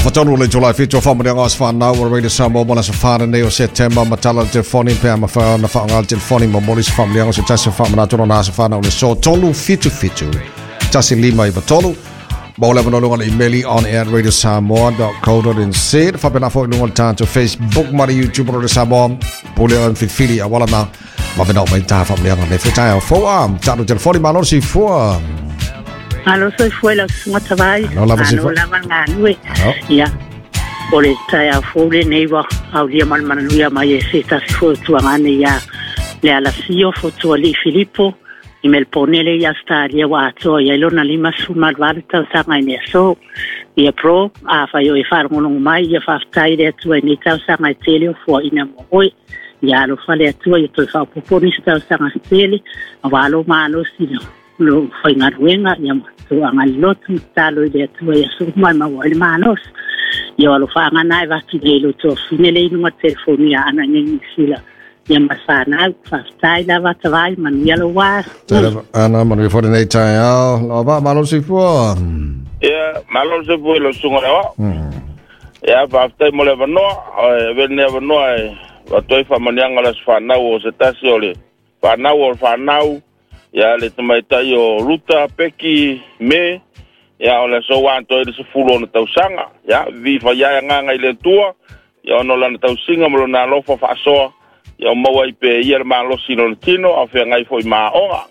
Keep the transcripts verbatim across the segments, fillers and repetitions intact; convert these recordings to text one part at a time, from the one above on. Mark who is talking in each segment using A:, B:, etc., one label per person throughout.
A: Afatonu le July fitu whamanianga o whanau o Radio Samoa mo la safana nei o September matala le telefoni pe ma wha na whaonga le telefoni mo moli se whamanianga se tasi whamanatona na whanau le so tolu fitu fitu tasi lima iwa tolu mo le vanolunga le emaili on air radio samoa dot co dot n z whapena fo ilunga le tātou Facebook ma le YouTube Radio Samoa pule o mfilfili a wala na mawena o mai tā whamanianga le whetaia fōa tātou telefoni malo si fua.
B: Alo soifua lau susuga tavai.
A: Alo lava
B: Alo lava galue. Ia o le taeao fou lenei ua aulia ma le mananuia mai e se tasi foi o tuagane ia le alasio fotuali'i Filipo i Melbourne le i Australia ua atoa i ai lona lima sefulumaluvalu tausaga i le aso. Ia bro, afai o e faalogologo mai ia faafetai i le Atua i nei tausaga e tele o fuaʻina mo oe. Ia alofa le Atua ia toe faaopopo nisi tausaga se tele auā lou malosi lo faigaluega ia toaga lotu tatalo i le Atua ia suma e maua ai le malosi. Ia o alofaaga e vatu nei lo tofine le inuga telefoni ia ana nei Niu Sila ia ma whanau, faafetai lava tavai manuia lou ā.
A: Ana manuia foi lenei taeao lava malo soifua.
C: Ia malo soifua i lau susuga le aoao. Ia faafetai mo le avanoa, e avea lenei avanoa e avatu ai faamaniaga o le aso fanau o se tasi o le fanau o le fanau ia le tamaitai o Ruta Peki Me ia o le aso ua atoa ai le sefulu ona tausaga ia vivi faiae agaga i le Atua ia ona o lana tausiga ma lona alofa faasoa ia o maua ai pea ia le malosi i lona tino a o feagai foi ma aoga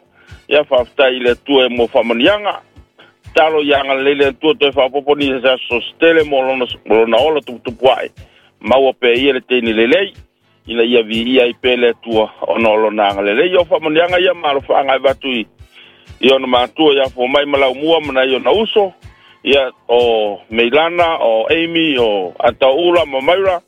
C: ia faafetai i le Atua e mo faamaniaga talo ia agalelei le Atua toe faaopoopo nisi se aso setele mo lona mo lona ola tuputupu ae maua pea ia le teini lelei ina ia viia ai pea le Atua ona o lona agalelei. Ia o faamaniaga ia ma alofaaga e avatu i i ona matua ia fomai ma laumua ma nai ona uso ia o Meilana o Amy o Ataoula ma Maura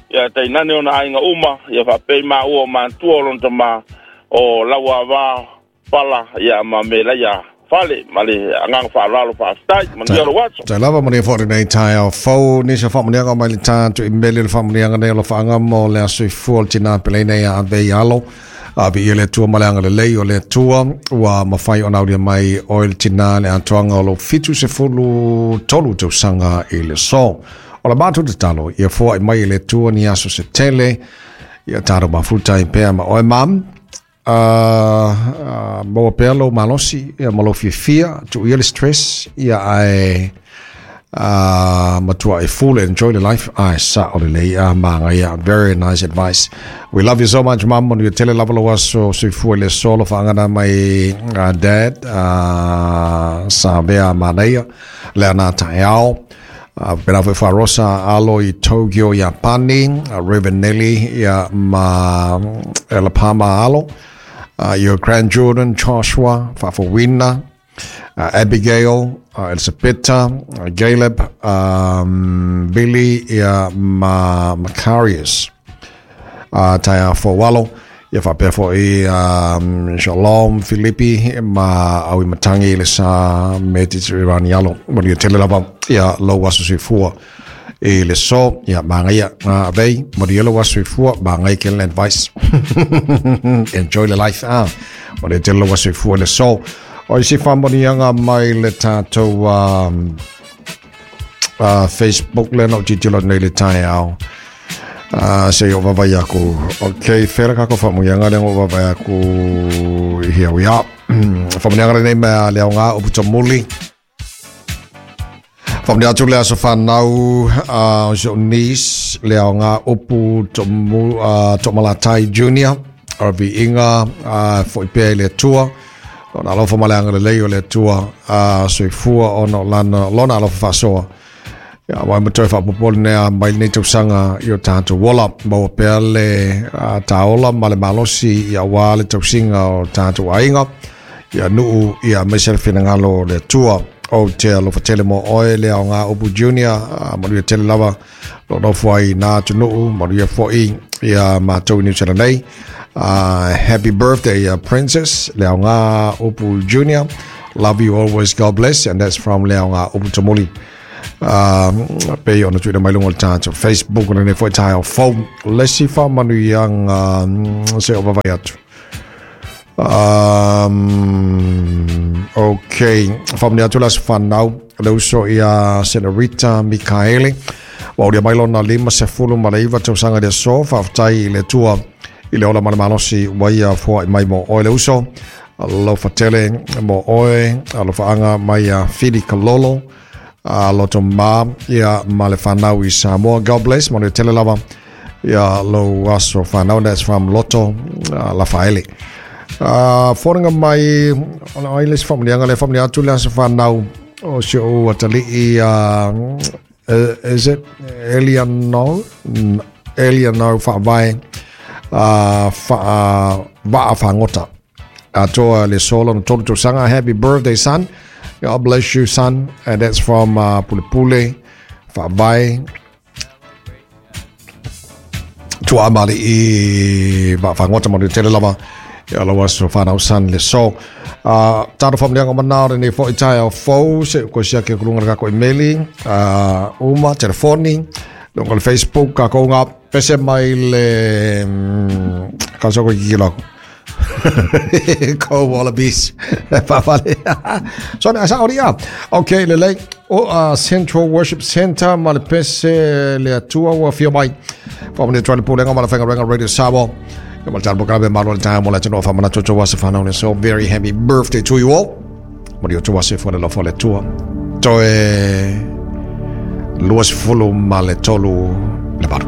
C: ia tainane ona aiga uma ia faapea i maua o matua o lona tamā o Lauava Pala ia ma Melaia Fale ma le agaga faaaloalo faafetai manuia lou aso.
A: Tai lava manuia foi lenei taeao fou nisi o faamanuiaga mai le tatou imeli o le faamanuiaga nei o lofaaga mo le aso soifua o le tinā peleina ia ave i alo a viia le Atua ma le agalelei o le Atua ua mafai ona aulia mai oe le tinā le atoaga o lou fitu sefulu tolu tausaga i le so. O le matou tatalo ia foaʻi mai e le Atua ni aso se tele ia tatou mafuta ai pea ma oe mam. Uh, uh, maua pea lou malosi ia ma lou fiafia tuuia le stress ia ae uh, matua e full enjoy the life ae sa o lelei a magaia. Very nice advice. We love you so much, mum. Manuia tele lava lou aso soifua i le aso lo faagana mai uh, dad uh, sa vea manaia le ana taeao. Uh, pena foi Farosa alo i Tokyo, Iapani, uh, Reverend Nelly ia ma Elapama alo, uh, your grandchildren Joshua, Fafowina, uh, Abigail, uh, Elisabetta, uh, Caleb, um, Billy ia ma Macarius, uh, taia fo walo ia faapea foi um, Shalom Filipi ma au i matangi le sa Mediterranean alo manuia tele lava ia lou aso soifua i le so ia magaia ngā avei manuia lou aso soifua magai ke le advice enjoy the life ah manuia tele lou aso soifua i le so o isi faamanuiaga mai le tatou um, uh, Facebook le na o titilo nei le taeao. Uh, se o vavai aku. Ok, fera kako faamanuiaga le o vavai aku. Here we are. Faamanuiaga lenei mea le aoga o Putamuli. Faamanuia atu le aso whanau uh, o si o niece le aoga upu tomu, uh, Tomalatai Junior o viiga uh, foi pea i le Atua. Lona alofa ma le agalelei o le Atua uh, soifua ona o lana, lona alofa faasoa. Ia mai ma toe faapopo lenea mai lenei tausaga i o tatou ola. Maua pea le uh, taola ma le malosi ia auā le tausiga o tatou aiga. Ia nuu ia aemaise le finagalo o le Atua. O te alofa tele mo oe le aoga upu junior uh, manuia tele lava lo nofo ai nā atunuu manuia foi ia matou i New Zealand nei. Uh, happy birthday, uh, Princess Leaoga Upu Junior. Love you always. God bless. And that's from Leaoga Upu Tamuli. Um, pe ona tuuina mai luga o le tatou Facebook o lenei foi taeao fou. Le isi faamanuiaga se o vavai atu. Um, okay, faamanuia atu le aso fanau le uso ia Senorita Mikaele. Ua aulia mai lona lima sefulu ma le iva tausaga i le aso. Faafetai i le Atua i le ola ma le malosi ua ia foaʻi mai mo oe le uso. Alofa tele mo oe, alofaaga mai ia Fili Kalolo, loto ma ia ma le fanau i Samoa. God bless, manuia tele lava ia lou aso fanau. That's from Loto uh, Lafaele. Uh, Fonoga mai ona ai le se faamanuiaga le faamanuia atu le aso fanau o si ou atalii, uh, is it Eliano Eliano Faavae, uh, fa, Vaa Fagota atoa le solo na tolu tausaga. Happy birthday, son. God bless you, son. And that's from uh, Pulepule Faavae Tuamali i Vaafagota. Manuia tele lava ia lou aso fanau, son, le so. Uh, Taro faamanuiaga o manao lenei foi taeao fou se ko sia ke kulunga ka ko emaili uh, uma telefoni longa le Facebook ka ko ngā pese mai le ka so ko ki lako Go Wallabies. Fafale. So na sa oria. Okay, le lei o uh, Central Worship Center ma le pese le atua ua fia mai. Fa mo le pulenga ma le whenga renga Radio Samoa. Ia ma le talo pokabe malo le tae mo le tino fa mana toto wa se whanau. So very happy birthday to you all. Mo le tua se fo le lofo le tua. Toe lua sefulu ma le tolu le valu.